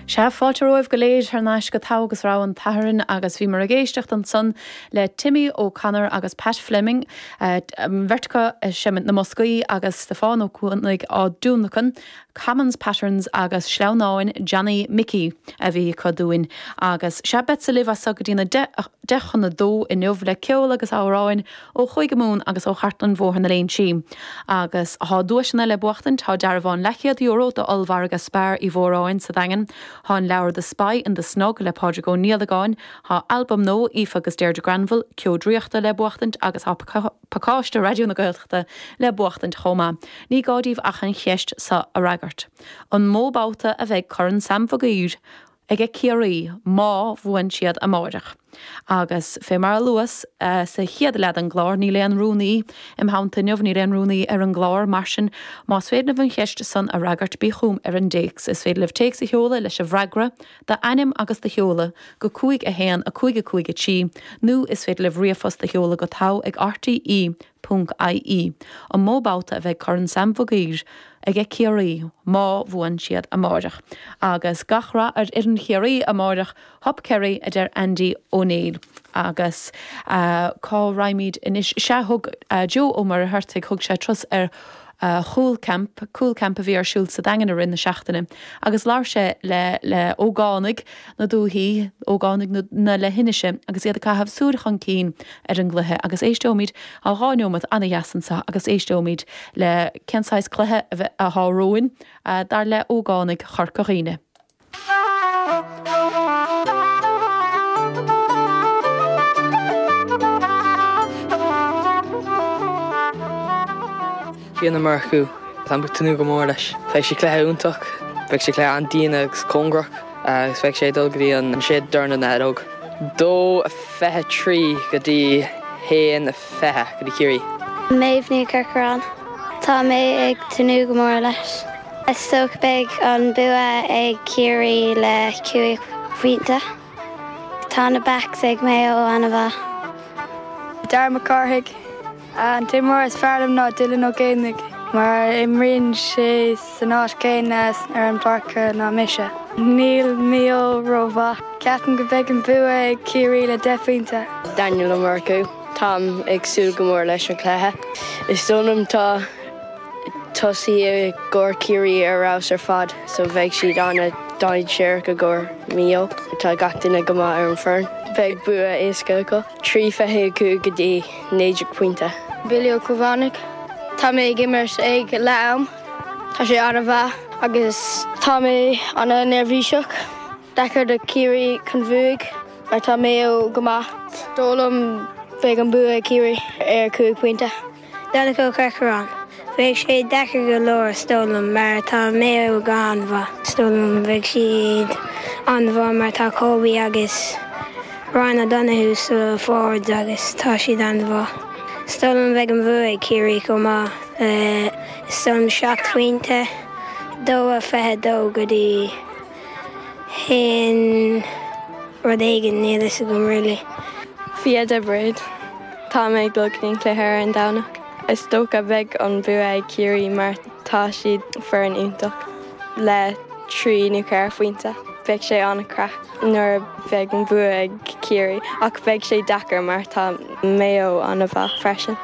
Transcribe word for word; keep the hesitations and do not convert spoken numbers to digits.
Sea fáilte romhaibh go léir thar n-ais go Togha agus Rogha an tSathairn agus bhíomar ag éisteacht ansan le Timmy O'Connor agus Pat Fleming beirt acu ag seimint na mboscaí agus Stiofán Ó Cuanaigh á dtionlacan, Commons Patterns agus Sleamhnáin Johnny Mickey a bhí acu dúinn agus sea beadsa libh as go dtí na deich chun a dó inniu le ceol agus amhráin ó Chúige Mumhan agus ó Chartlann Bhóthar na Léinsí. Agus tá duaiseanna le buachtaint tá dearbhán leathchéad euro d'ollmhargadh Spar Uí Mhóráin sa Daingean, Tá an leabhar The Spy in the Snug le Pádraig Ó Niallagáin, tá albam nua Aoife agus Deirdre Granville, Ceo Draíochta le buachtaint agus tá pacáiste Raidió na Gaeltachta le buachtaint chomh maith. Ní gá daoibh ach an cheist seo a fhreagairt. An mó babhta a bheidh Corn Sam Mhig Uidhir ag Ciarraí má bhuann siad amárach. Agus fé mar a luas uh, sa chéad leath den gclár níl aon rúnaí im theannta inniu níl aon rúnaí ar an gclár mar sin más féidir libh an cheist san a fhreagairt bí chugam ar an dtéacs is féidir libh téacs a sheoladh leis an bhfreagra d'ainm agus do sheoladh go cúig a haon a cúig a cúig a trí nó is féidir libh ríomhphost a sheoladh go togha ag RTE ponc IE. An mó babhta a bheidh Corn Sam Mhig Uidhir ag Ciarraí má bhuann siad amárach. Agus gach rath ar fhoireann Chiarraí amárach Hup Kerry a deir Andy O'Neill. Agus uh, cá raghaimid anois sea thug uh, Joe Ó Muircheartaigh thug sé turas ar uh, Cool Camp, Cool Camp a bhí ar siúl sa Daingean i rith na seachtaine. Agus labhair sé le le ógánaigh na dúthaí ógánaigh na, na leithinise agus iad ag caitheamh súil chun cinn ar an gcluiche agus éisteoimid a dhá nóiméad an-dheas anseo agus éisteoimid le cén saghas cluiche a bheith atá romhainn uh, dar le ógánaigh Chorca Dhuibhne. Fionn Ó Murchú Táim ag tnúth go mór leis. Beidh sé cluiche iontach, beidh sé cluiche an-dian agus cóngarach agus beidh sé dul go dtí an séad dorn na fheadóg. Dó fiche trí go dtí haon fiche go dtí Ciarraí. Méabh Ní Chorcoráin. Tá mé ag tnúth go mór leis. Is dócha beidh an bua ag Ciarraí le cúig phointe. Tá na backs ag Maigh Eo an-mhaith. Dar McCarthaigh an t-imreoir is fearr liom ná Dylan Ó Géibheannaigh, mar imríonn sé san áit céanna ar an bpáirc ná mise. Níl Maigh Eo rómhaith. Ceapaim go mbeidh an bua ag Ciarraí le deich bpointe. Daniel Ó Murchú Táim ag súil go mór leis an cluiche. Is dóigh liom tá tosaí i gcomhair Ciarraí ar fheabhas ar fad, so bheidh siad an-dainséarach i gcomhair Maigh Eo. Tá gach duine go maith ar an foireann. Beidh bua éasca acu. Trí fiche cúig go dtí naoi déag pointe. Billy Ó Cobhánaigh. Tá mé ag imirt ag leath-am. Tá sé an-mhaith agus tá mé an-neirbhíseach. Deacair do Ciarraí chun bhuaigh mar tá Maigh Eo go maith. Dóigh liom beidh an bua ag Ciarraí ar cúig pointe. Donncha Ó Corcoráin. Bheidh sé deacair go leor is dóigh liom mar tá Maigh Eo go han-mhaith. Is dóigh liom bheidh siad an-mhaith mar tá Kobe agus Ryan O'Donoghue sa forwards agus tá siad an-mhaith. Is dóigh liom bheidh an bua ag Ciarraí chomh maith is dóigh liom seacht phointe dó a fiche dó go dtí haon rud éigin níl a fhios agam really. Fia de Brid Tá mé ag dul go dtí an cluiche ar an Domhnach. Is dócha beidh an bua ag Ciarraí mar tá siad foireann iontach le trí nó ceithre phointe. Beidh sé an-chraic nuair bheidh an bua ag Ciarraí ach beidh sé deacair mar tá Maigh Eo an-mhaith freisin.